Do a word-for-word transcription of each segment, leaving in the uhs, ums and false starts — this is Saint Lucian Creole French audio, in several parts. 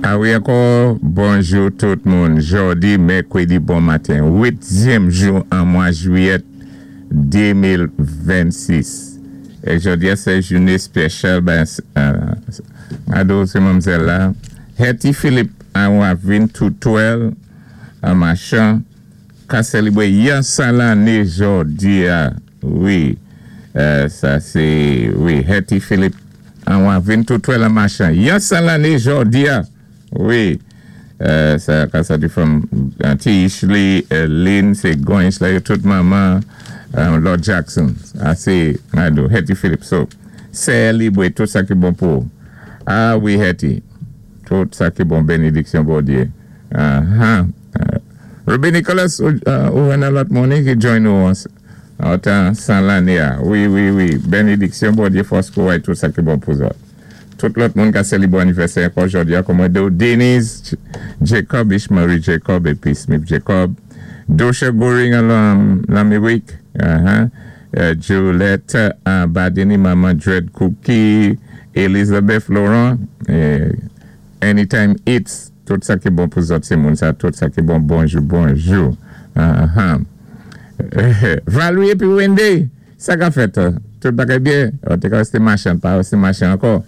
Awi ankò, bonjou tout moun. Jòdi, mèkwédi bon maten. Uityèm jou an mwa jwiyèt de mil vennsis. É jòdi a sé jouné spésyal, ben, ado sé manmzèl la. Hetty Philippe an Wavin Toutouel, an machan, ka sélibwé yon san lanné jòdi a. Wi, sa sé, wi, Hetty Philippe an Wavin Toutouel an machan. Yon san lanné jòdi a. Wi, sa ka sa di from T. Ishley, Lynn, sé Goins la, yo tout manman, Lord Jackson. A sé, ado, Hetty Philippe. So, sélibwé tout sa ki bon pou. Ah wi, Hetty. Tout sa ki bon, bénédiksyon Bondyé. Uh-huh. Ruby Nicholas, ou an a lòt moun ki join nou an san lanné a. Wi, wi, wi. Bénédiksyon Bondyé, fòs kouway, tout sa ki bon pou zòt. Tout lòt moun ka sélibwé anivèsè ankò jòdi a, kòm do Denise Jacob, Ishmarie Jacob, épi Smith Jacob, Dosha Goring an Lamirik, Juliette Badini, Maman Dread Cookie, Elizabeth Laurent, Anytime Eats, tout sa ki bon pou zòt sé moun sa, tout sa ki bon, bonjou, bonjou. Valerie épi Wendy, sa ka fèt, tout bagay byen, ou te ka wè machan, pa wè machan ankò.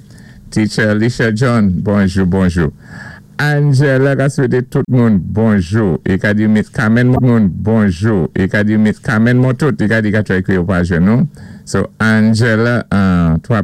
Teacher Alicia John, bonjou, bonjou. Angela ka swété tout moun bonjou. É ka di Miss Carmen moun bonjou. É ka di Miss Carmen moun tout. É ka di ka try kwi yo pa jwenn nou. So Angela, twa